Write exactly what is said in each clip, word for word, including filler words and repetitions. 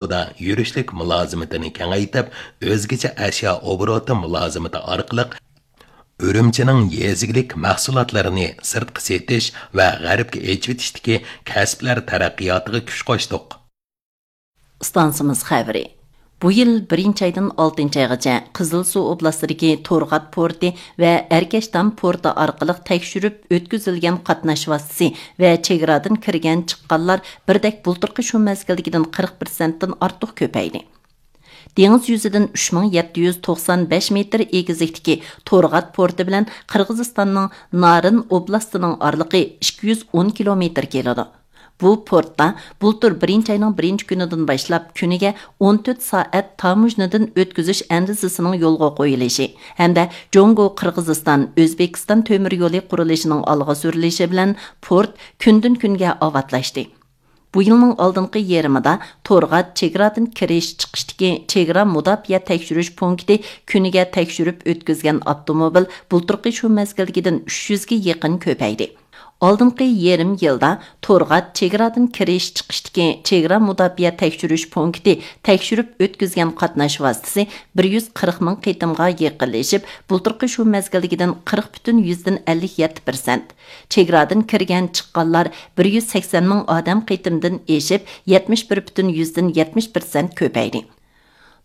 ئوبوروتىدا يۈرۈشلۈك مۇلازىمىتىنى كېڭەيتىپ، ئۆزگىچە ئەشيا ئوبوروتى مۇلازىمىتى ئارقىلىق ئۈرۈمچىنىڭ يېزا ئىگىلىك مەھسۇلاتلىرىنى سىرتقا سېتىش ۋە غەربكە ئېچىۋېتىشتىكى كەسىپلەر تەرەققىياتىغا كۈچ قوشتۇق. ئىستانسىمىز خەۋىرى. بۇ يىل بىرىنچى ئايدىن ئالتىنچى ئايغىچە قىزىلسۇ ئوبلاستىدىكى تورغات پورتى ۋە ئەركەشتام پورتى ئارقىلىق تەكشۈرۈپ ئۆتكۈزۈلگەن قاتناش ۋاسىتىسى ۋە چېگرادىن كىرگەن چىققانلار بىردەك بۇلتۇرقى شۇ مەزگىلدىكىدىن قىرىق پىرسەنتتىن ئارتۇق كۆپەيدى. دېڭىز يۈزىدىن ئۈچ مىڭ يەتتە يۈز توقسان بەش مېتىر ئېگىزلىكتىكى تورغات پورتى بىلەن قىرغىزىستاننىڭ نارىن ئوبلاستىنىڭ ئارىلىقى ئىككى يۈز ئون كىلومېتىر كېلىدۇ. بۇ پورتتا بۇلتۇر بىرىنچى ئاينىڭ بىرىنچى كۈنىدىن باشلاپ كۈنىگە ئون تۆت سائەت تاموژنىدىن ئۆتكۈزۈش ئەندىزىسىنىڭ يولغا قويۇلۇشى ھەمدە جۇڭگو قىرغىزىستان ئۆزبېكىستان تۆمۈر يولى قۇرۇلۇشىنىڭ ئالغا سۈرۈلۈشى بىلەن پورت كۈندىن كۈنگە ئاۋاتلاشتى. بۇ يىلنىڭ ئالدىنقى يېرىمىدا تورغات چېگرادىن كىرىش چىقىشتىكى چېگرا مۇداپىئە تەكشۈرۈش پونكىتى كۈنىگە تەكشۈرۈپ ئۆتكۈزگەن ئاپتوموبىل بۇلتۇرقى شۇ مەزگىلدىكىدىن ئۈچ يۈزگە يېقىن كۆپەيدى. ئالدىنقى يېرىم يىلدا تورغات چېگرادىن كىرىش چىقىشتىكى چېگرا مۇداپىئە تەكشۈرۈش پونكىتى تەكشۈرۈپ ئۆتكۈزگەن قاتناش ۋاسىتىسى بىر يۈز قىرىق مىڭ قېتىمغا يېقىنلىشىپ، بۇلتۇرقى شۇ مەزگىلدىكىدىن قىرىق پۈتۈن يۈزدىن ئەللىك يەتتە پىرسەنت، چېگرادىن كىرگەن چىققانلار بىر يۈز سەكسەن مىڭ ئادەم قېتىمدىن ئېشىپ، يەتمىش بىر پۈتۈن يۈزدىن يەتمىش پىرسەنت كۆپەيدى.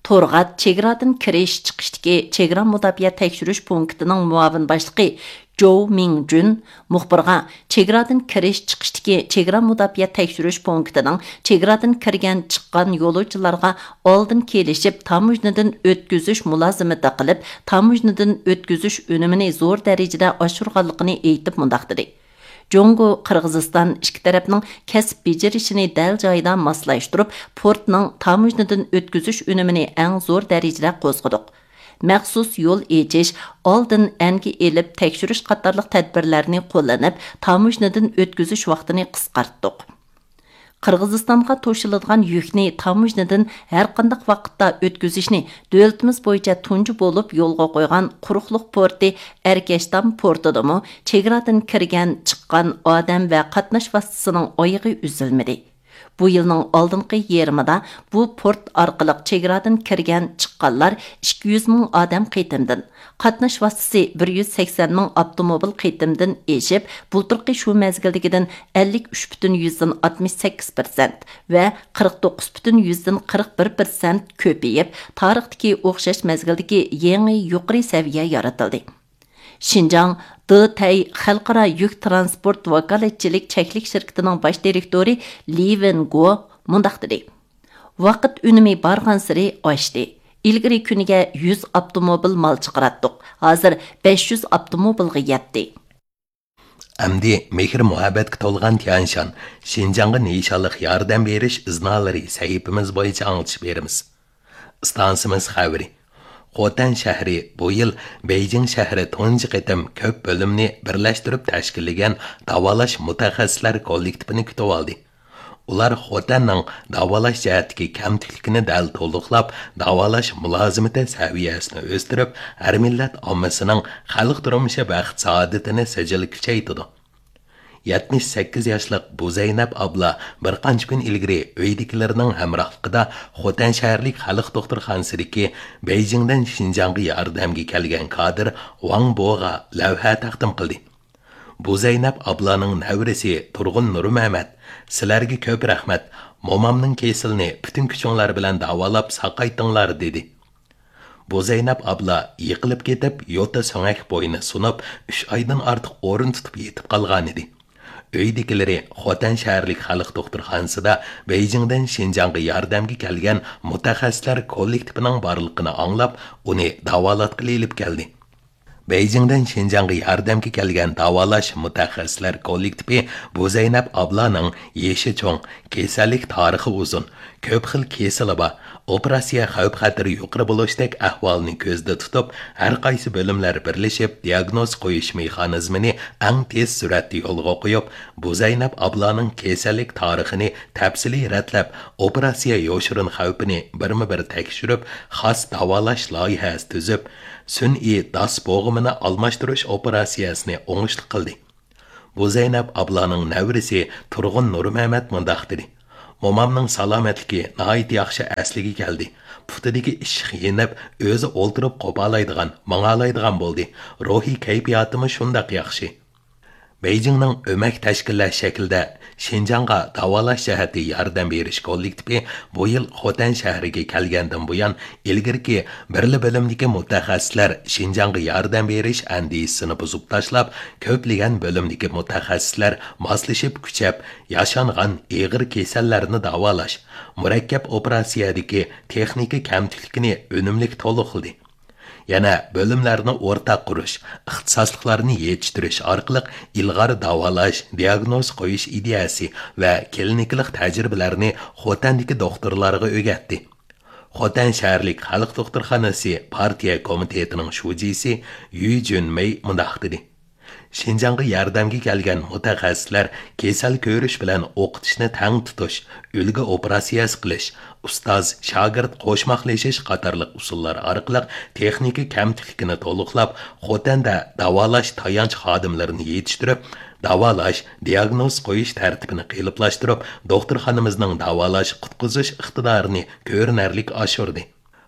تورغات چېگرادىن كىرىش چىقىشتىكى چېگرا مۇداپىئە تەكشۈرۈش پونكىتىنىڭ مۇئاۋىن باشلىقى جوۋ مىڭجۈن مۇخبىرغا، چېگرادىن كىرىش چىقىشتىكى چېگرا مۇداپىئە تەكشۈرۈش پونكىتىنىڭ چېگرادىن كىرگەن چىققان يولۇچىلارغا ئالدىن كېلىشىپ تاموژنىدىن ئۆتكۈزۈش مۇلازىمىتى قىلىپ، تاموژنىدىن ئۆتكۈزۈش ئۈنۈمىنى زور دەرىجىدە ئاشۇرغانلىقىنى ئېيتىپ مۇنداق دېدى. جۇڭگو، قىرغىزىستان ئىككى تەرەپنىڭ كەسىپ بېجىرىشىنى دەل جايىدا ماسلاشتۇرۇپ، پورتنىڭ تاموژنىدىن ئۆتكۈزۈش ئۈنۈمىنى ئەڭ زور دەرىجىدە قوزغىدۇق. مەخسۇس يول ئېچىش، ئالدىن ئەنگە ئېلىپ تەكشۈرۈش قاتارلىق تەدبىرلەرنى قوللىنىپ، تاموژنىدىن ئۆتكۈزۈش ۋاقتىنى قىسقارتتۇق. قىرغىزىستانغا توشۇلىدىغان يۈكنى تاموژنىدىن ھەرقانداق ۋاقىتتا ئۆتكۈزۈشنى دۆلىتىمىز بويىچە تۇنجى بولۇپ يولغا قويغان قۇرۇقلۇق پورتى ئەركەشتام پورتىدىمۇ چېگرادىن كىرگەن، چىققان ئادەم ۋە قاتناش ۋاسىتىسىنىڭ ئايىغى ئۈزۈلمىدى. بۇ يىلنىڭ ئالدىنقى يېرىمىدا بۇ پورت ئارقىلىق چېگرادىن كىرگەن، چىققانلار ئىككى يۈز مىڭ ئادەم قېتىمدىن، قاتناش ۋاسىتىسى بىر يۈز سەكسەن مىڭ ئاپتوموبىل قېتىمدىن ئېشىپ، بۇلتۇرقى شۇ مەزگىلدىكىدىن ئەللىك ئۈچ پۈتۈن يۈزدىن ئاتمىش سەككىز پىرسەنت ۋە قىرىق توققۇز پۈتۈن يۈزدىن قىرىق بىر پىرسەنت كۆپىيىپ، تارىختىكى ئوخشاش مەزگىلدىكى يېڭى يۇقىرى سەۋىيە يارىتىلدى. شىنجاڭ دېتەي خەلقئارا يۈك تىرانسپورت ۋاكالەتچىلىك چەكلىك شىركىتىنىڭ باش دىرېكتورى لى ۋېن گو مۇنداق دېدى: ۋاقىت ئۈنۈمى بارغانسېرى ئاشتى. ئىلگىرى كۈنىگە يۈز ئاپتوموبىل مال چىقىراتتۇق، ھازىر بەش يۈز ئاپتوموبىلغا يەتتى. ئەمدى مېھىر مۇھەببەتكە تولغان تيەنشان، شىنجاڭغا نىشانلىق ياردەم بېرىش ئىزنالىرى سەھىپىمىز بويىچە ئاڭلىتىش بېرىمىز. ئىستانسىمىز خەۋىرى. خوتەن شەھىرى بۇ يىل بېيجىڭ شەھىرى تۇنجى قېتىم كۆپ بۆلۈمنى بىرلەشتۈرۈپ تەشكىللىگەن داۋالاش مۇتەخەسسىسلەر كوللېكتىپىنى كۈتۈۋالدى. ئۇلار خوتەننىڭ داۋالاش جەھەتتىكى كەمتۈكلۈكىنى دەل تولۇقلاپ، داۋالاش مۇلازىمىتى سەۋىيەسىنى ئۆستۈرۈپ، ھەر مىللەت ئاممىسىنىڭ خەلق تۇرمۇشى ۋە ئىقتىسادىيىتىنى سىجىل كۈچەيتىدۇ. يەتمىش سەككىز ياشلىق بۇزەينەپ ئابلا بىر قانچە كۈن ئىلگىرى ئۆيدىكىلىرىنىڭ ھەمراھلىقىدا خوتەن شەھەرلىك خەلق دوختۇرخانىسىدىكى بېيجىڭدىن شىنجاڭغا ياردەمگە كەلگەن كادىر ۋاڭ بوغا لەۋھە تەقدىم قىلدى. بۇزەينەپ ئابلانىڭ نەۋرىسى تۇرغۇن نۇرمەمەت، سىلەرگە كۆپ رەھمەت، مومامنىڭ كېسىلىنى پۈتۈن كۈچۈڭلار بىلەن داۋالاپ ساقايتىڭلار، دېدى. بۇزەينەپ ئابلا يىقىلىپ كېتىپ، يوتا سۆڭەك بوينى سۇنۇپ، ئۈچ ئايدىن ئارتۇق ئورۇن تۇتۇپ يېتىپ قالغانىدى. ئۆيدىكىلىرى خوتەن شەھەرلىك خەلق دوختۇرخانىسىدا بېيجىڭدىن شىنجاڭغا ياردەمگە كەلگەن مۇتەخەسسىسلەر كوللېكتىپىنىڭ بارلىقىنى ئاڭلاپ، ئۇنى داۋالاتقىلى ئېلىپ كەلدى. بېيجىڭدىن شىنجاڭغا ياردەمگە كەلگەن داۋالاش مۇتەخەسسىسلەر كوللېكتىپى بۇزەينەپ ئابلانىڭ يېشى چوڭ، كېسەللىك تارىخى ئۇزۇن، كۆپ خىل كېسىلى بار، ئوپېراتسىيە خەۋپ-خەتىرى يۇقىرى بولۇشتەك ئەھۋالنى كۆزدە تۇتۇپ، ھەر قايسى بۆلۈملەر بىرلىشىپ، دىياگنوز قويۇش مېخانىزمىنى ئەڭ تېز سۈرئەتتە يولغا قويۇپ، بۇزەينەپ ئابلانىڭ كېسەللىك تارىخىنى تەپسىلىي رەتلەپ، ئوپېراتسىيە يوشۇرۇن خەۋپىنى بىرمۇ بىر تەكشۈرۈپ، خاس داۋالاش لايىھەسى تۈزۈپ، سۈنئىي داس بوغۇمىنى ئالماشتۇرۇش ئوپېراتسىيەسىنى ئوڭۇشلۇق قىلدى. بۇزەينەپ ئابلانىڭ نەۋرىسى تۇرغۇن نۇرمەمەت مۇنداق دېدى: مومامنىڭ سالامەتلىكى ناھايىتى ياخشى ئەسلىگە كەلدى. پۇتىدىكى ئىششىق يېنىپ، ئۆزى ئولتۇرۇپ قوپالايدىغان، ماڭالايدىغان بولدى. روھىي كەيپىياتىمۇ شۇنداق ياخشى. بېيجىڭنىڭ ئۆمەك تەشكىللەش شەكلىدە شىنجاڭغا داۋالاش جەھەتتە ياردەم بېرىش كوللېكتىپى بۇ يىل خوتەن شەھىرىگە كەلگەندىن بۇيان، ئىلگىرىكى بىرلا بۆلۈمدىكى مۇتەخەسسىسلەر شىنجاڭغا ياردەم بېرىش ئەندىزىسىنى بۇزۇپ تاشلاپ، كۆپلىگەن بۆلۈمدىكى مۇتەخەسسىسلەر ماسلىشىپ كۈچەپ، ياشانغان ئېغىر كېسەللەرنى داۋالاش، مۇرەككەپ ئوپېراتسىيەدىكى تېخنىكا كەمتۈكلۈكىنى ئۈنۈملۈك تولۇقلىدى. يەنە بۆلۈملەرنى ئورتاق قۇرۇش، ئىختىساسلىقلارنى يېتىشتۈرۈش ئارقىلىق ئىلغار داۋالاش، دىياگنوز قويۇش ئىدىيەسى ۋە كلىنىكىلىق تەجرىبىلەرنى خوتەندىكى دوختۇرلارغا ئۆگەتتى. خوتەن شەھەرلىك خەلق دوختۇرخانىسى پارتىيە كومىتېتىنىڭ شۇجىسى يۈ جۈنمېي مۇنداق دېدى: شىنجاڭغا ياردەمگە كەلگەن مۇتەخەسسىسلەر كېسەل كۆرۈش بىلەن ئوقۇتۇشنى تەڭ تۇتۇش، ئۈلگە ئوپېراتسىيەسى قىلىش، ئۇستاز، شاگىرت قوشماقلىشىش قاتارلىق ئۇسۇللار ئارقىلىق تېخنىكا كەمتۈكلۈكىنى تولۇقلاپ، خوتەندە داۋالاش تايانچ خادىملىرىنى يېتىشتۈرۈپ، داۋالاش، دىياگنوز قويۇش تەرتىپىنى قېلىپلاشتۇرۇپ، دوختۇرخانىمىزنىڭ داۋالاش، قۇتقۇزۇش ئىقتىدارىنى كۆرۈنەرلىك ئاشۇردى.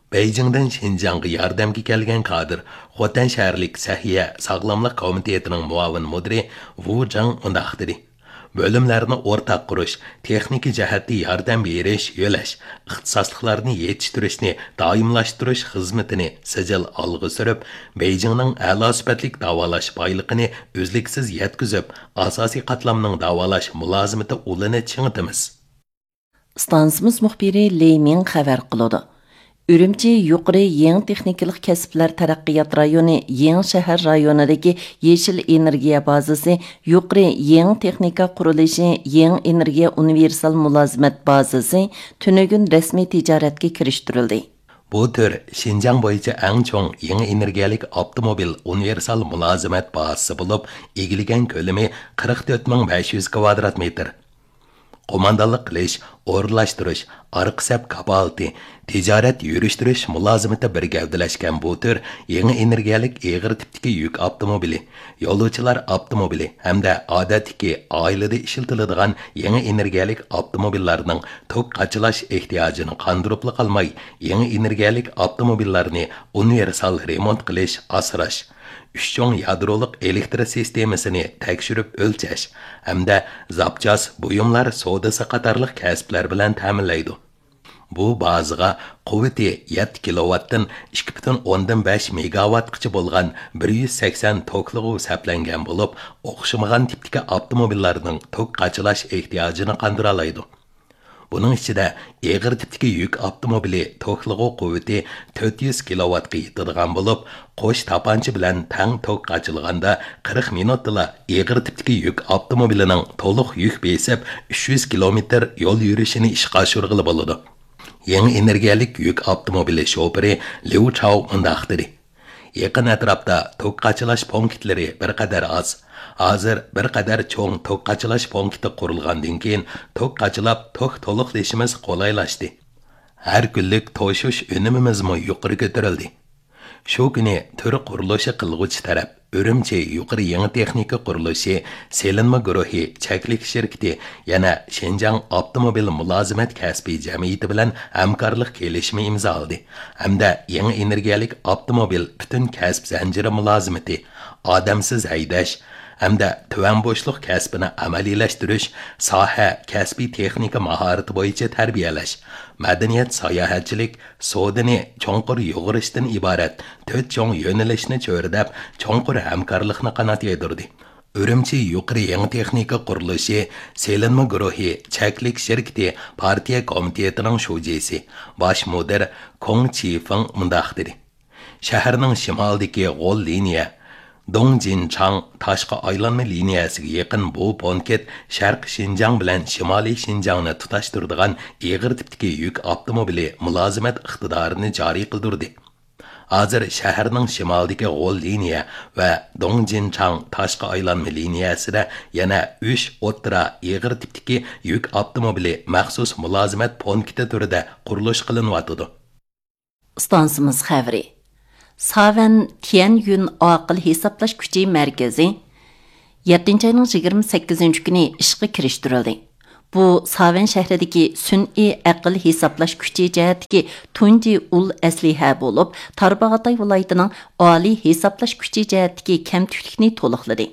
بېيجىڭدىن شىنجاڭغا ياردەمگە كەلگەن كادىر، خوتەن شەھەرلىك سەھىيە ساغلاملىق كومىتېتىنىڭ مۇئاۋىن مۇدىرى ۋۇ جاڭ مۇنداق دېدى: بۆلۈملەرنى ئورتاق قۇرۇش، تېخنىكا جەھەتتە ياردەم بېرىش، يۆلەش، ئىختىساسلىقلارنى يېتىشتۈرۈشنى دائىملاشتۇرۇش خىزمىتىنى سىجىل ئالغا سۈرۈپ، بېيجىڭنىڭ ئەلا سۈپەتلىك داۋالاش بايلىقىنى ئۈزلۈكسىز يەتكۈزۈپ، ئاساسىي قاتلامنىڭ داۋالاش مۇلازىمىتى ئۇلىنى چىڭىتىمىز. ئىستانسىمىز مۇخبىرى لېي مىڭ خەۋەر قىلىدۇ. ئۈرۈمچى يۇقىرى يېڭى تېخنىكىلىق كەسىپلەر تەرەققىيات رايونى يېڭى شەھەر رايونىدىكى يېشىل ئېنېرگىيە بازىسى، يۇقىرى يېڭى تېخنىكا قۇرۇلۇشى يېڭى ئېنېرگىيە ئۇنىۋېرسال مۇلازىمەت بازىسى تۈنۈگۈن رەسمىي تىجارەتكە كىرىشتۈرۈلدى. بۇ تۈر شىنجاڭ بويىچە ئەڭ چوڭ يېڭى ئېنېرگىيەلىك ئاپتوموبىل ئۇنىۋېرسال مۇلازىمەت بازىسى بولۇپ، ئىگىلىگەن كۆلىمى قىرىق تۆت مىڭ بەش يۈز كىۋادرات مېتىر. قوماندانلىق قىلىش، ئورۇنلاشتۇرۇش، ئارقا سەپ كاپالىتى، تىجارەت يۈرۈشتۈرۈش مۇلازىمىتى بىر گەۋدىلەشكەن بۇ تۈر يېڭى ئېنېرگىيەلىك ئېغىر تىپتىكى يۈك ئاپتوموبىلى، يولۇچىلار ئاپتوموبىلى ھەمدە ئادەتتىكى ئائىلىدە ئىشلىتىلىدىغان يېڭى ئېنېرگىيەلىك ئاپتوموبىللارنىڭ توك قاچىلاش ئېھتىياجىنى قاندۇرۇپلا قالماي، يېڭى ئېنېرگىيەلىك ئاپتوموبىللارنى ئۇنىۋېرسال رېمونت قىلىش، ئاسراش، ئۈچ چوڭ يادرولۇق ئېلېكتر سىستېمىسىنى تەكشۈرۈپ ئۆلچەش ھەمدە زاپچاس بۇيۇملار سودىسى قاتارلىق كەسىپلەر بىلەن تەمىنلەيدۇ. بۇ بازىغا قۇۋۋىتى يەتتە كىلوۋاتتىن ئىككى پۈتۈن ئوندىن بەش مېگاۋاتقىچە بولغان بىر يۈز سەكسەن توكلىغۇ سەپلەنگەن بولۇپ، ئوخشىمىغان تىپتىكى ئاپتوموبىللارنىڭ توك قاچىلاش ئېھتىياجىنى قاندۇرالايدۇ. بۇنىڭ ئىچىدە ئېغىر تىپتىكى يۈك ئاپتوموبىلى توكلىغۇ قۇۋۋىتى تۆت يۈز كىلوۋاتقا يېتىدىغان بولۇپ، قوش تاپانچا بىلەن تەڭ توك قاچىلىغاندا قىرىق مىنۇتتىلا ئېغىر تىپتىكى يۈك ئاپتوموبىلىنىڭ تولۇق يۈك بېسىپ، ئۈچ يۈز كىلومېتىر يول يۈرۈشىنى ئىشقا ئاشۇرغىلى بولىدۇ. يېڭى ئېنېرگىيەلىك يۈك ئاپتوموبىلى شوپۇرى ليۇ چاۋ مۇنداق دېدى: يېقىن ئەتراپتا توك قاچىلاش پونكىتلىرى بىر قەدەر ئاز. ھازىر بىر قەدەر چوڭ توك قاچىلاش پونكىتى قۇرۇلغاندىن كېيىن، توك قاچىلاپ، توك تولۇقلىشىمىز قولايلاشتى. ھەر كۈنلۈك توشۇش ئۈنۈمىمىزمۇ يۇقىرى كۆتۈرۈلدى. شۇ كۈنى تۈر قۇرۇلۇشى قىلغۇچى تەرەپ ئۈرۈمچى يۇقىرى يېڭى تېخنىكا قۇرۇلۇشى سېلىنما گۇرۇھى چەكلىك شىركىتى يەنە شىنجاڭ ئاپتوموبىل مۇلازىمەت كەسپىي جەمئىيىتى بىلەن ھەمكارلىق كېلىشىمى ئىمزالىدى ھەمدە يېڭى ئېنېرگىيەلىك ئاپتوموبىل پۈتۈن كەسىپ زەنجىرى مۇلازىمىتى، ئادەمسىز ھەيدەش ھەمدە تۆۋەن بوشلۇق كەسپىنى ئەمەلىيلەشتۈرۈش، ساھە، كەسپىي تېخنىكا ماھارىتى بويىچە تەربىيەلەش، مەدەنىيەت، ساياھەتچىلىك، سودىنى چوڭقۇر يۇغۇرۇشتىن ئىبارەت تۆت چوڭ يۆنىلىشنى چۆرىدەپ، چوڭقۇر ھەمكارلىقنى قانات يايدۇردى. ئۈرۈمچى يۇقىرى يېڭى تېخنىكا قۇرۇلۇشى سېلىنما گۇرۇھى چەكلىك شىركىتى پارتىيە كومىتېتىنىڭ شۇجىسى، باش مۇدىر كوڭ چىفېڭ مۇنداق دېدى: شەھەرنىڭ شىمالىدىكى غول لىنىيە، دۇڭجىنچاڭ تاشقى ئايلانما لىنىيەسىگە يېقىن بۇ پونكىت شەرقىي شىنجاڭ بىلەن شىمالىي شىنجاڭنى تۇتاشتۇرىدىغان ئېغىر تىپتىكى يۈك ئاپتوموبىلى مۇلازىمەت ئىقتىدارىنى جارى قىلدۇردى. ھازىر شەھەرنىڭ شىمالىدىكى غول لىنىيە ۋە دۇڭجىنچاڭ تاشقى ئايلانما لىنىيەسىدە يەنە ئۈچ ئوتتۇرا ئېغىر تىپتىكى يۈك ئاپتوموبىلى مەخسۇس مۇلازىمەت پونكىتى تۈرىدە قۇرۇلۇش قىلىنىۋاتىدۇ. ئىستانسىمىز خەۋىرى. ساۋەن تيەنيۈن ئاقىل ھېسابلاش كۈچى مەركىزى يەتتىنچى ئاينىڭ يىگىرمە سەككىزىنچى كۈنى ئىشقا كىرىشتۈرۈلدى. بۇ ساۋەن شەھىرىدىكى سۈنئىي ئەقىل ھېسابلاش كۈچى جەھەتتىكى تۇنجى ئۇل ئەسلىھە بولۇپ، تارباغاتاي ۋىلايىتىنىڭ ئالىي ھېسابلاش كۈچى جەھەتتىكى كەمتۈكلۈكنى تولۇقلىدى.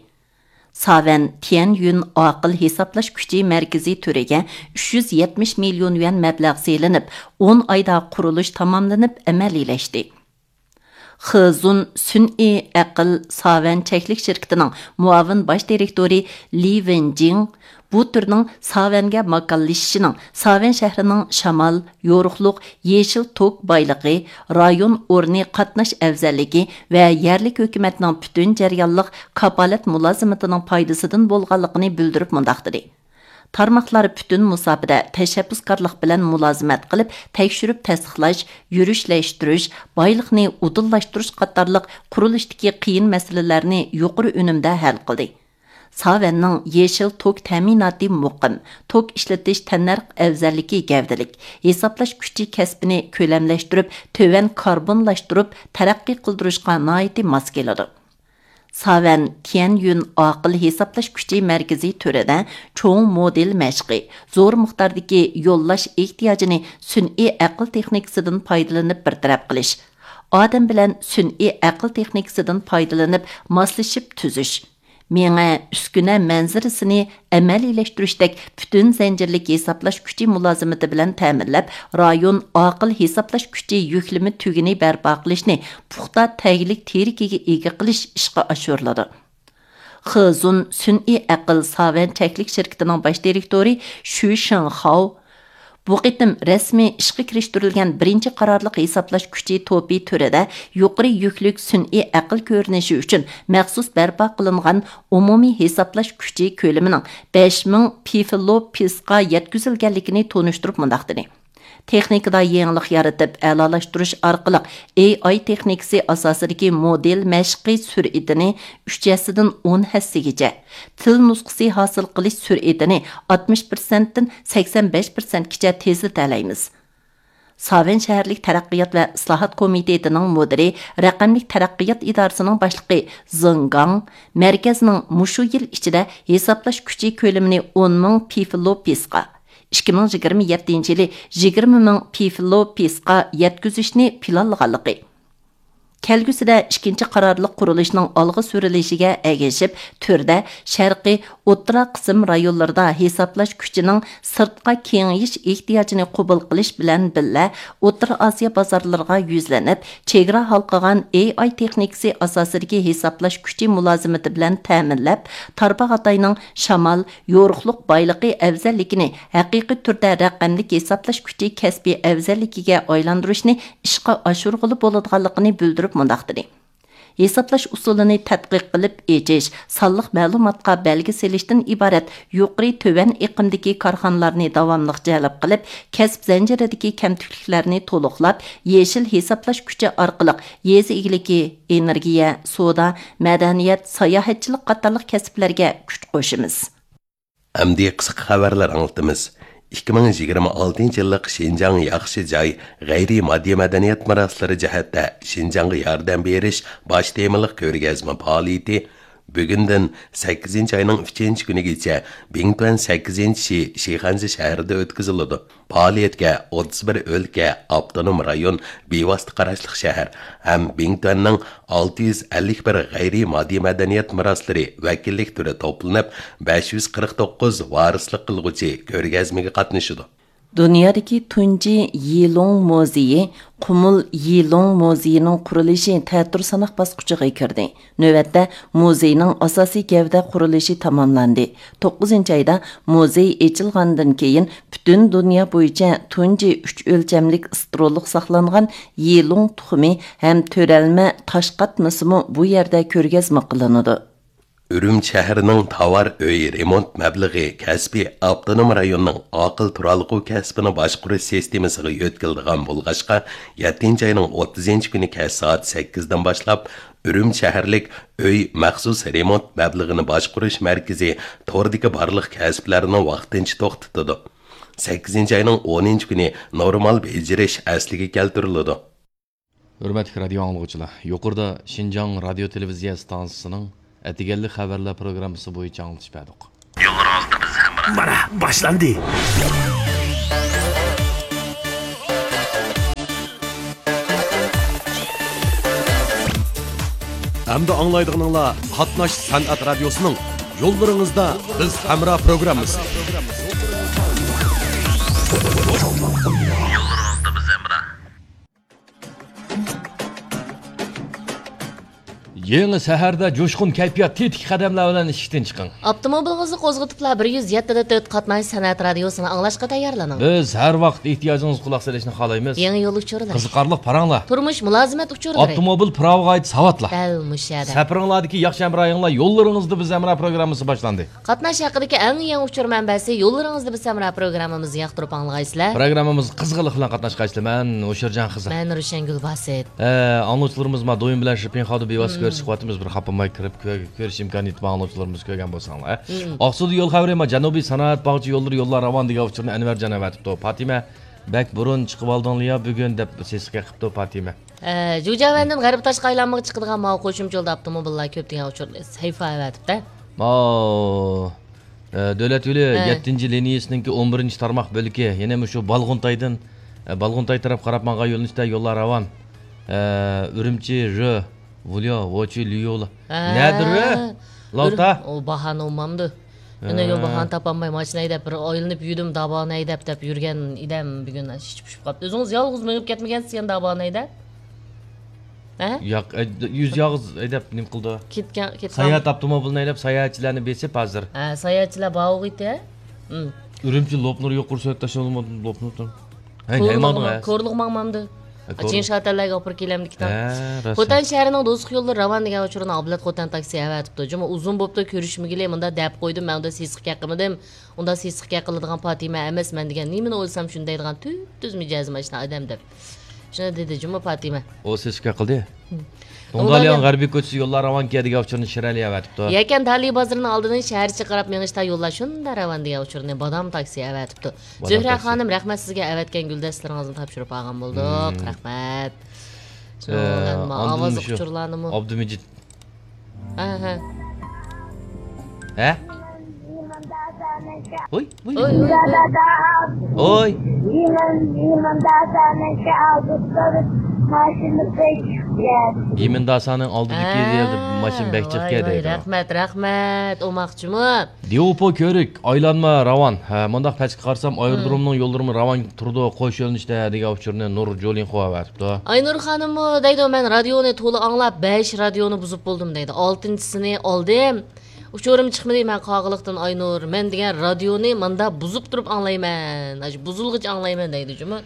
ساۋەن تيەنيۈن ئاقىل ھېسابلاش كۈچى مەركىزى تۈرىگە ئۈچ يۈز يەتمىش مىليون يۈەن مەبلەغ سېلىنىپ، ئون ئايدا قۇرۇلۇش تاماملىنىپ ئەمەلىيلەشتى. خېزۇن سۈنئىي ئەقىل ساۋەن چەكلىك شىركىتىنىڭ مۇئاۋىن باش دىرېكتورى لى ۋېنجىڭ بۇ تۈرنىڭ ساۋەنگە ماكانلىشىشىنىڭ ساۋەن شەھىرىنىڭ شامال، يورۇقلۇق، يېشىل توك بايلىقى، رايون ئورنى قاتناش ئەۋزەللىكى ۋە يەرلىك ھۆكۈمەتنىڭ پۈتۈن جەريانلىق كاپالەت مۇلازىمىتىنىڭ پايدىسىدىن بولغانلىقىنى بىلدۈرۈپ مۇنداق دېدى: تارماقلار پۈتۈن مۇساپىدە تەشەببۇسكارلىق بىلەن مۇلازىمەت قىلىپ، تەكشۈرۈپ تەستىقلاش، يۈرۈشلەشتۈرۈش، بايلىقنى ئۇدۇللاشتۇرۇش قاتارلىق قۇرۇلۇشتىكى قىيىن مەسىلىلەرنى يۇقىرى ئۈنۈمدە ھەل قىلدى. ساۋەننىڭ يېشىل توك تەمىناتى مۇقىم، توك ئىشلىتىش تەننەرخ ئەۋزەللىكى گەۋدىلىك، ھېسابلاش كۈچى كەسپىنى كۆلەملەشتۈرۈپ، تۆۋەن كاربونلاشتۇرۇپ تەرەققىي قىلدۇرۇشقا ناھايىتى ماس كېلىدۇ. ساۋەن تيەنيۈن ئاقىل ھېسابلاش كۈچى مەركىزى تۈرىدە چوڭ مودېل مەشقى، زور مىقداردىكى يوللاش ئېھتىياجىنى سۈنئىي ئەقىل تېخنىكىسىدىن پايدىلىنىپ بىر تەرەپ قىلىش، ئادەم بىلەن سۈنئىي ئەقىل تېخنىكىسىدىن پايدىلىنىپ ماسلىشىپ تۈزۈش، مېڭە، ئۈسكۈنە مەنزىرىسىنى ئەمەلىيلەشتۈرۈشتەك پۈتۈن زەنجىرلىك ھېسابلاش كۈچى مۇلازىمىتى بىلەن تەمىنلەپ، رايون ئاقىل ھېسابلاش كۈچى يۈكلىمە تۈگۈنى بەرپا قىلىشنى پۇختا تەگلىك تىرىكىگە ئىگە قىلىش ئىشقا ئاشۇرۇلىدۇ. خېزۇن سۈنئىي ئەقىل ساۋەن چەكلىك شىركىتىنىڭ باش دىرېكتورى شۈ شېڭخاۋ بۇ قېتىم رەسمىي ئىشقا كىرىشتۈرۈلگەن بىرىنچى قارارلىق ھېسابلاش كۈچى توپى تۈرىدە يۇقىرى يۈكلۈك سۈنئىي ئەقىل كۆرۈنۈشى ئۈچۈن مەخسۇس بەرپا قىلىنغان ئومۇمىي ھېسابلاش كۈچى كۆلىمىنىڭ بەش مىڭ پىفلوپىسقا يەتكۈزۈلگەنلىكىنى تونۇشتۇرۇپ مۇنداق دېدى: تېخنىكىدا يېڭىلىق يارىتىپ، ئەلالاشتۇرۇش ئارقىلىق ئېي ئاي تېخنىكىسى ئاساسىدىكى مودېل مەشقى سۈرئىتىنى ئۈچ ھەسسىدىن ئون ھەسسىگىچە، تىل نۇسخىسى ھاسىل قىلىش سۈرئىتىنى ئاتمىش پىرسەنتتىن سەكسەن بەش پىرسەنتكىچە تېزلىتەلەيمىز. ساۋەن شەھەرلىك تەرەققىيات ۋە ئىسلاھات كومىتېتىنىڭ مۇدىرى، رەقەملىك تەرەققىيات ئىدارىسىنىڭ باشلىقى زېڭ گاڭ مەركەزنىڭ مۇشۇ يىل ئىچىدە ھېسابلاش كۈچى كۆلىمىنى ئون مىڭ پىفلوپىسقا، ئىككى مىڭ يىگىرمە يەتتىنچى يىلى يىگىرمە مىڭ پىفلوپىسقا يەتكۈزۈشنى پىلانلىغانلىقى، كەلگۈسىدە ئىككىنچى قارارلىق قۇرۇلۇشنىڭ ئالغا سۈرۈلۈشىگە ئەگىشىپ، تۈردە شەرقىي، ئوتتۇرا قىسىم رايونلىرىدا ھېسابلاش كۈچىنىڭ سىرتقا كېڭىيىش ئېھتىياجىنى قوبۇل قىلىش بىلەن بىللە، ئوتتۇرا ئاسىيا بازارلىرىغا يۈزلىنىپ، چېگرا ھالقىغان ئېي ئاي تېخنىكىسى ئاساسىدىكى ھېسابلاش كۈچى مۇلازىمىتى بىلەن تەمىنلەپ، تارباغاتاينىڭ شامال، يورۇقلۇق بايلىقى ئەۋزەللىكىنى ھەقىقىي تۈردە رەقەملىك ھېسابلاش كۈچى كەسپىي ئەۋزەللىكىگە ئايلاندۇرۇشنى ئىشقا ئاشۇرغىلى بولىدىغانلىقىنى بىلدۈرۈپ مۇنداق دېدى: ھېسابلاش ئۇسۇلىنى تەتقىق قىلىپ ئېچىش، سانلىق مەلۇماتقا بەلگە سېلىشتىن ئىبارەت يۇقىرى تۆۋەن ئېقىمدىكى كارخانىلارنى داۋاملىق جەلپ قىلىپ، كەسىپ زەنجىرىدىكى كەمتۈكلۈكلەرنى تولۇقلاپ، يېشىل ھېسابلاش كۈچى ئارقىلىق يېزا ئىگىلىكى، ئېنېرگىيە، سودا، مەدەنىيەت، ساياھەتچىلىك قاتارلىق كەسىپلەرگە كۈچ قوشىمىز. ئەمدى قىسقا خەۋەرلەر ئاڭلىتىمىز. ئىككى مىڭ يىگىرمە ئالتىنچى يىللىق شىنجاڭ ياخشى جاي، غەيرىي ماددىي مەدەنىيەت مىراسلىرى جەھەتتە شىنجاڭغا ياردەم بېرىش باش تېمىلىق كۆرگەزمە پائالىيىتى بۈگۈندىن سەككىزىنچى ئاينىڭ ئۈچىنچى كۈنىگىچە بىڭتۈەن سەككىزىنچى شى شىخەنزە شەھىرىدە ئۆتكۈزۈلىدۇ. پائالىيەتكە ئوتتۇز بىر ئۆلكە، ئاپتونوم رايون، بىۋاسىتە قاراشلىق شەھەر ھەم بىڭتۈەننىڭ ئالتە يۈز ئەللىك بىر غەيرىي ماددىي مەدەنىيەت مىراسلىرى ۋەكىللىك تۈرى توپلىنىپ، بەش يۈز قىرىق توققۇز ۋارىسلىق قىلغۇچى كۆرگەزمىگە قاتنىشىدۇ. دۇنيادىكى تۇنجى يىلۇڭ مۇزېيى، قۇمۇل يىلۇڭ مۇزېيىنىڭ قۇرۇلۇشى تەتۈر ساناق باسقۇچىغا كىردى. نۆۋەتتە مۇزېينىڭ ئاساسىي گەۋدە قۇرۇلۇشى تاماملاندى. توققۇزىنچى ئايدا مۇزېي ئېچىلغاندىن كېيىن، پۈتۈن دۇنيا بويىچە تۇنجى ئۈچ ئۆلچەملىك ئىسترولۇق ساقلانغان يىلۇڭ تۇخۇمى ھەم تۆرەلمە تاش قاتمىسىمۇ بۇ يەردە كۆرگەزمە قىلىنىدۇ. ئۈرۈمچى شەھىرىنىڭ تاۋار ئۆي رېمونت مەبلىغى كەسپىي ئاپتونوم رايوننىڭ ئاقىل تۇرالغۇ كەسپىنى باشقۇرۇش سىستېمىسىغا يۆتكىلىدىغان بولغاچقا، يەتتىنچى ئاينىڭ ئوتتۇزىنچى كۈنى كەچ سائەت سەككىزدىن باشلاپ، ئۈرۈمچى شەھەرلىك ئۆي مەخسۇس رېمونت مەبلىغىنى باشقۇرۇش مەركىزى توردىكى بارلىق كەسىپلەرنى ۋاقتىنچە توختىتىدۇ. سەككىزىنچى ئاينىڭ ئونىنچى كۈنى نورمال بېجىرىش ئەسلىگە كەلتۈرۈلىدۇ. ھۆرمەتلىك رادىيو ئاڭلىغۇچىلار، يۇقىرىدا شىنجاڭ رادىيو تېلېۋىزىيە ئىستانسىسىنىڭ ئەتىگەنلىك خەۋەرلەر پروگراممىسى بويىچە ئاڭلىتىش بەردۇق. يوللىرىڭىزدا بىز ھەم مانا، باشلاندى. ئەمدى ئاڭلايدىغىنىڭلار قاتناش سەنئەت رادىيوسىنىڭ يوللىرىڭىزدا بىز ھەمراھ پروگراممىسى. يېڭى سەھەردە جۇشقۇن كەيپىيات، تېتىك قەدەملەر بىلەن ئىشىكتىن چىقىڭ. ئاپتوموبىلىڭىزنى قوزغىتىپلا بىر يۈز يەتتە دە تۆت قاتناش سەنئەت رادىيوسىنى ئاڭلاشقا تەييارلىنىڭ. بىز ھەر ۋاقىت ئېھتىياجىڭىزغا قۇلاق سېلىشنى خالايمىز. يېڭى يول ئۇچۇرلىرى. قىزىقارلىق پاراڭلار. تۇرمۇش مۇلازىمەت ئۇچۇرلىرى. ئاپتوموبىل پىراۋىغا ئائىت ساۋاتلار. دەل مۇشۇ يەردە. سەپىرىڭلاردىكى ياخشى ھەمراھىڭلار يوللىرىڭىزدا بىز ھەمراھ پروگراممىسى باشلاندى. قاتناش ھەققىدىكى ئەڭ يېڭى ئۇچۇر مەنبەسى يوللىرىڭىزدا بىز ھەمراھ پروگراممىمىزنى ياقتۇرۇپ ئاڭلىغايسىلەر. پروگراممىمىزغا قىزغىنلىق بىلەن قاتناشقايسىلەر. مەن ھوشۇرجان خىزىر. مەن روشەنگۈل باسىت. ئە، ئاڭلىغۇچىلىرىمىز ما دويۇن بىلەن شىپىن خادۇ بىۋاسىتە كۆرۈشۈپ قويۇۋاتىمىز. بىر خاپىماي كىرىپ كۆ-، كۆرۈش ئىمكانىيىتى بار ئاڭلىغۇچىلىرىمىز كۆرگەن بولساڭلار. ئاقسۇدا يول خەۋىرى ما جەنۇبىي سانائەت باغچە يوللىرى يوللار راۋان دېگەن ئۇچۇرنى ئەنۋەرجان ئەۋەتىپتۇ. پاتىمە، بەك بۇرۇن چىقىۋالدىڭلىيا بۈگۈن دەپ سېسىق قېقىپتۇ پاتىمە. ئە، جۇجياۋەندىن غەربىي تاشقى ئايلانمىغا چىقىدىغان ماۋۇ قوشۇمچە يولدا ئاپتوموبىللار كۆپ دېگەن ئۇچۇرنى سەھىپە ئەۋەتىپتۇ. ماۋۇ، ئە، دۆلەت يولى ھە. يەتتىنچى لىنىيىسىنىڭكى ئون بىرىنچى تارماق بۆلىكى، يەنە مۇشۇ بالغۇنتايدىن، ئە، بالغۇنتاي تەرەپ قاراپ ماڭغان يۆنىلىشتە يوللار راۋان. ئە، ئۈرۈمچى، رۆ، ۋۇليو، ۋوچى، ليۇلا. ھە. نەدە رۆ؟ لاۋتا؟ ئۇ باھانى ئۇمامدۇ. مەن ئۆيۈم ئە. باھانى تاپالماي، ماشىنا ھەيدەپ، بىر ئايلىنىپ يۈردۈم، دابانى ھەيدەپ دەپ يۈرگەن ئىدەم بۈگۈن، ئىچى پۇشۇپ قاپتۇ. ئۆزىڭىز يالغۇز مېڭىپ كەتمىگەنسىز يەنە دابانى ھەيدەپ؟ ھە؟ ياق، ئە، يۈز يالغۇز ھەيدەپ نېمە قىلىدۇ؟ كەتكەن، كەتكەن. ساياھەت ئاپتوموبىلىنى ھەيدەپ، ساياھەتچىلەرنى بېسىپ ھازىر. ھە، ساياھەتچىلەر باغۇغىتى، ھە؟ ئۈرۈمچى لوپنۇر يۇقىرى سۆھبەتداش بولۇپ لوپنۇر. ھەي، كورلىغا، نەيماڭدىڭ، ھە؟ كورلىغا ماڭمامدۇ؟ ھە، كور- چىڭ شاتەنلەرگە ئاپىرىپ كېلەمدىكىن. ھە، راست. خوتەن شەھىرىنىڭ دوستلۇق يوللىرى راۋان دېگەن ئۇچۇرنى ئابلەت خوتەن تاكسى ئەۋەتىپتۇ. جۇمۇ ئۇزۇن بوپتۇ، كۆرۈشمىگىلى، مۇندا دەپ قويدۇم، مەن ئۇندا سېسىق گەپ قىلمىدىم. ئۇندا سېسىق گەپ قىلىدىغان پاتىمە ئەمەس، مەن دېگەن نېمىنى ئويلىسام شۇنى دەيدىغان تۈپتۈز مىجەزىم ئاشۇنداق ئادەم دەپ. شۇنى دېدى جۇمۇ پاتىمە. ئۇ سېسىق گەپ قىلدى. دۇڭدالياڭ غەربىي كوچىسى يوللار راۋانكەن دېگەن ئۇچۇرنى شىرئەلى ئەۋەتىپتۇ. يەكەن تالى بازىرىنىڭ ئالدىدىن شەھەرچە قاراپ مېڭىشتا يوللار شۇنداق راۋان دېگەن ئۇچۇرنى بادام تاكسى ئەۋەتىپتۇ. بادام زۆھرە تاكسى. خانىم، رەھمەت سىزگە، ئەۋەتكەن گۈلدەستىلىرىڭىزنى تاپشۇرۇپ ئالغان بولدۇق. مم. رەھمەت. ئە، شۇنىڭ بىلەن ئاندىن ئاۋازلىق مۇشۇ ئۇچۇرلارنىمۇ. ئابدۇمىجىت. ھە، ھە. ھە؟ ۋوي، ۋوي. ۋوي، ۋوي، ۋوي. ۋوي. يېمىن داسانىڭ ئالدىدىكى يەردە ماشىنا بەك جىقكەن دەيدۇ. ھە، ۋاي، ۋاي، رەھمەت، رەھمەت، ئوماقچىمۇ. ديۇپو كۆۋرۈك، ئايلانما راۋان. ھە، مۇنداق پەسكە قارىسام، ئايرودرومنىڭ يوللىرىمۇ راۋان تۇرىدۇ، قوش يۆنىلىشتە دېگەن ئۇچۇرنى نۇر جولىنخو ئەۋەتىپتۇ. ئاينۇر خانىممۇ دەيدۇ، مەن رادىيونى تولا ئاڭلاپ، بەش رادىيونى بۇزۇپ بولدۇم دەيدۇ. ئالتىنچىسىنى ئالدىم. ئۇچۇرۇم چىقمىدى، مەن قاغىلىقتىن ئاينۇر. مەن دېگەن رادىيونى ماندا بۇزۇپ تۇرۇپ ئاڭلايمەن. ئاشۇ بۇزۇلغىچە ئاڭلايمەن دەيدۇ جۇمۇ.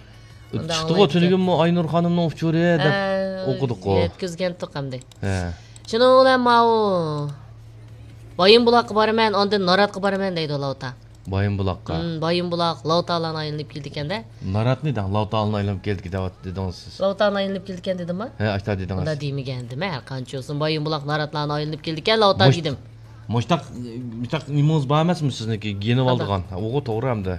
ئۇندا چىقتىغۇ ئاڭلايتتى. تۈنۈگۈنمۇ ئاينۇر خانىمنىڭ ئۇچۇرى دەپ ھە، ئوقۇدۇققۇ. يەتكۈزگەنتۇق ئەمدى. ھە. شۇنىڭ بىلەن ماۋۇ بايىنبۇلاققا بارىمەن، ئاندىن ناراتقا بارىمەن دەيدۇ لاۋتا. بايىنبۇلاققا. ھىم، بايىنبۇلاق، لاۋتالان ئايلىنىپ كېلىدىكەن-دە. ناراتنى دەڭ، لاۋتالان ئايلىنىپ كېلىدىكەن دەۋاتتى دېدىڭىز سىز. لاۋتالان ئايلىنىپ كېلىدىكەن دېدىمما؟ ھە، ئاشتا دېدىڭىز. ئۇنداق دېمىگەندىم، ھەر قانچە بولسۇن، بايىنبۇلاق ناراتلان ئايلىنىپ كېلىدىكەن، لاۋتا دېدىم. مۇشتاق، مۇشتاق نېمىڭىز بار ئەمەسمۇ سىزنىڭكى؟ يېنىۋالىدىغان. ھە، ئۇغۇ توغرا ئەمدى.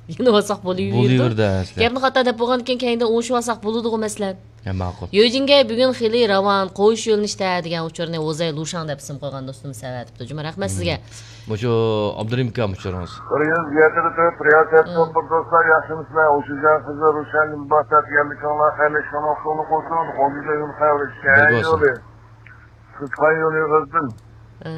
يېنىۋالساق بولۇۋېرىدۇ. بولۇۋېرىدۇ ئەسلى. گەپنى خاتا دەپ بولغاندىكىن كەينىدىن ئوڭشىۋالساق بولىدىغۇ مەسىلەن. ھە، ماقۇل. يۆجىنگەي بۈگۈن خېلى راۋان، قوش يۆنىلىشتە دېگەن ئۇچۇرنى ۋوزەي لۇشاڭ دەپ ئىسىم قويغان دوستىمىز ئەۋەتىپتۇ. جۇمۇ، رەھمەت سىزگە. مۇشۇ ئابدۇرېھىم ئاكام ئۇچۇرىڭىز. بىر يۈز يەتتە دە تۆت رىياسەت ھىم. شوپۇر دوستلار، ياخشىمۇسىلەر؟ ئوشۇجان خىزىر، روشەن گۈلباھار، يەرلىكىڭلار خەيرلىك، شۇنىڭ سولۇق بولسۇن. غۇلجىدىن خەۋەر، بىر شەھەر بولسۇن. يولى. سىزخان يولى ئېغىزدىن. ھە.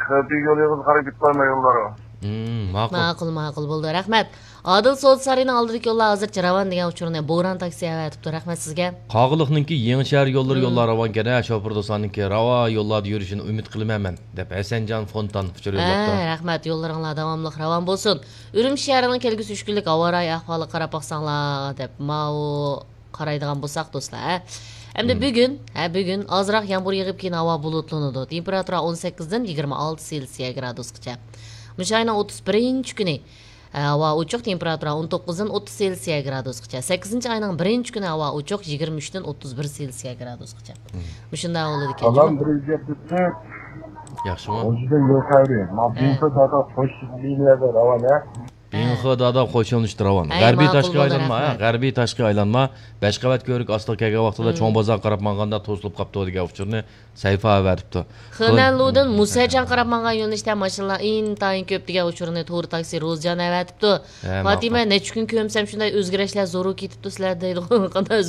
خەبىي يولى ئېغىز قاراپ كېتىپ بارماي يوللارغا. ھىم، ماقۇل. ماقۇل، ماقۇل، بولدى. رەھمەت. ئادىل سودا سارىيىنىڭ ئالدىدىكى يوللار ھازىرچە راۋان دېگەن ئۇچۇرنى بوران تاكسى ئەۋەتىپتۇ. رەھمەت سىزگە. قاغىلىقنىڭكى يېڭى شەھەر يوللىرى ھىم. يوللار راۋانكەن ھە، شوپۇر دوستلارنىڭكى راۋان يوللاردا يۈرۈشىنى ئۈمىد قىلىمەن مەن، دەپ ھەسەنجان فونتان ئۇچۇر ھە، يوللاپتۇ. رەھمەت، يوللىرىڭلار داۋاملىق راۋان بولسۇن. ئۈرۈمچى شەھىرىنىڭ كەلگۈسى ئۈچ كۈنلۈك ھاۋا رايى ئەھۋالىغا قاراپ باقساڭلار، دەپ ماۋۇ قارايدىغان بولساق دوستلار، ھە. ئەمدى مم. بۈگۈن، ھە، بۈگۈن ئازراق يامغۇر يېغىپ كېيىن ھاۋا بۇلۇتلىنىدۇ. تېمپېراتۇرا ئون سەككىزدىن يىگىرمە ئالتە سېلسىيە گرادۇسقىچە. مۇشۇ ئاينىڭ ئوتتۇز بىرىنچى كۈنى، ھە، ھاۋا ئوچۇق، تېمپېراتۇرا ئون توققۇزدىن ئوتتۇز سېلسىيە گرادۇسقىچە. سەككىزىنچى ئاينىڭ بىرىنچى كۈنى ھاۋا ئوچۇق، يىگىرمە ئۈچتىن ئوتتۇز بىر سېلسىيە گرادۇسقىچە. مم. مۇشۇنداق بولىدىكەن. سالام، بىر يۈز يەتتە تۆت. ياخشىمۇ؟ غۇلجىدىن يول خەۋىرى. ما ھە. بىنفېد ھازىر قوش لىنىيەدە راۋان، ھە؟ ئىڭخېدادا قوشۇلۇشتى راۋان. غەربىي تاشقى ئايلانما، ھە، غەربىي تاشقى ئايلانما، بەش قەۋەت كۆۋرۈك ئاستىغا كەلگەن ۋاقتىدا چوڭ بازارغا قاراپ ماڭغاندا توسۇلۇپ قاپتۇ دېگەن ئۇچۇرنى سەھىپە ئەۋەتىپتۇ. خېنەنلۇدىن مۇسەجاڭ قاراپ ماڭغان يۆنىلىشتە ماشىنىلار ئىنتايىن كۆپ دېگەن ئۇچۇرنى تورى تاكسى روزجان ئەۋەتىپتۇ. ھە، فاتىمە، نەچچە كۈن كۆرمىسەم شۇنداي ئۆزگىرىشلەر زورۇر كېتىپتۇ سىلەردە دەيدىغۇ. قانداق